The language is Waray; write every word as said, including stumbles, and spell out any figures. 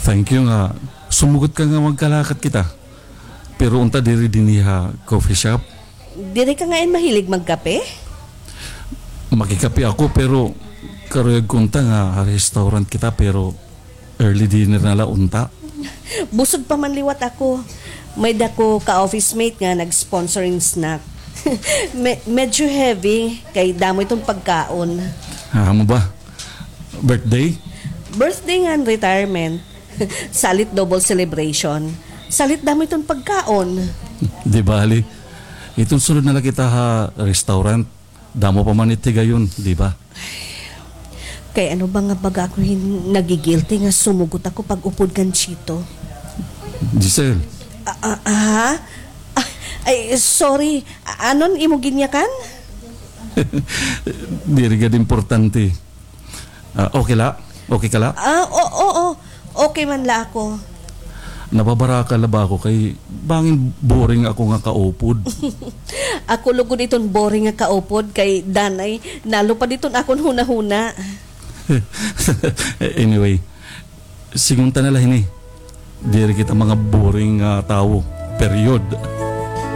Thank you nga sumugot ka nga magkalakat kita. Pero unta diri dinhi ha coffee shop. Diri ka ngain mahilig magkape? Makikape ako, pero karuyag ko unta nga ha restaurant kita, pero early dinner na la unta. Busog pa man liwat ako. May-ada ko ka-office mate nga nag-sponsor hin snack. Me-, medyo heavy, kay damo iton pagkaon. Ah, amo ba? Birthday? Birthday ngan retirement. Salit double celebration. Salit damo iton pagkaon. Di bali. Iton sunod na la kita ha restaurant. Damo pa man it higayon, di ba? Kay ano ba nga baga ako hin-, nagigilty nga sumugot ako pag-upod kan Chito? Giselle. Ah, ah, ah? Ah, ay, sorry. A-, anon imo ginyakan? Diri gad importante. Ah, okay la? Okay ka la? Ah, o-, oo. Okay man la ako. Nababaraka la ba ako kay bangin boring ako nga kaupod. Ako lugod iton boring nga kaupod kay danay nalupad iton akon hunahuna. Anyway, sige unta na la hini. Diri kita mga boring nga tawo. Period.